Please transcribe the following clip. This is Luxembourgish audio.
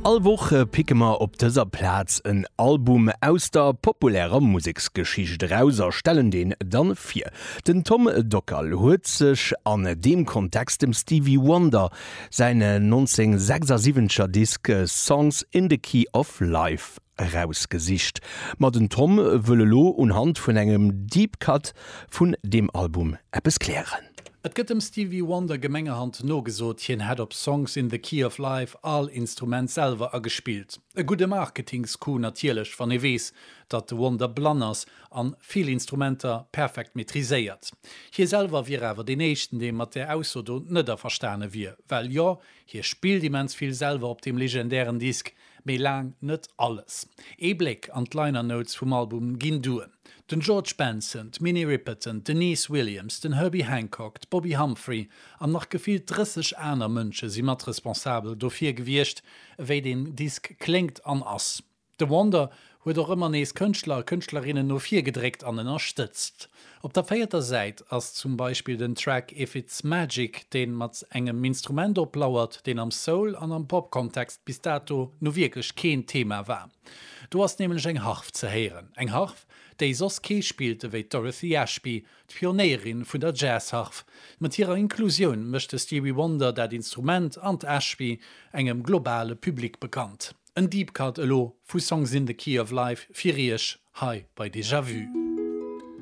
All Woch picke mer op dëser Plaz en Album aus der populärer Museksgeschicht eraus a stellen deen dann vir. Den Tom Dockal huet sech an deem Kontext dem Stevie Wonder säin 1976er Disk Songs in the Key of Life erausgesicht. Ma den Tom wëll elo unhand vun engem Deep Cut vun deem Album eppes klären. Et gëtt dem Stevie Wonder gemengerhand nogesot, hien hätt op Songs in the Key of Life all Instrument selwer agespillt. E gudde Marketingscoup natierlech, wann ee weess, datt de Wonder blann ass an vill Instrumenter perfekt maîtriséiert. Hie selwer wier awer deen éischten, dee mat där Ausso do net averstane wier. Well jo, hie spillt immens vill selwer op deem legendären Disk, Mee laang net alles. Ee Bléck an d'Liner Notes vum Album ginn duer. Den George Benson, d'Minnie Riperton, d'Deniece Williams, den Herbie Hancock, d'Bobbi Humphrey an nach gefillt 30 aner Mënsche si mat responsabel dofir gewiescht, ewéi deen Disk kléngt an ass. De Wonder huet och ëmmer nees Kënschtler a Kënschtlerinnen no vir gedréckt an ënnerstëtzt. Op der véierter Säit ass zum Beispill den Track If It's Magic, deen mat engem Instrument oplauert, deen am Soul an am Pop-Kontext bis dato nu wierklech keen Thema war. Do ass nämlech eng Harf ze héieren. Eng Harf, déi soss kee spillt ewéi d'Dorothy Ashby, d'Pionéierin vun der Jazz-Harf. Mat hirer Inklusioun mécht de Stevie Wonder dat Instrument an d'Ashby engem globale Public bekannt. En Deep Cut elo vu Songs in the Key of Life fir iech hei bei Déjà Vu.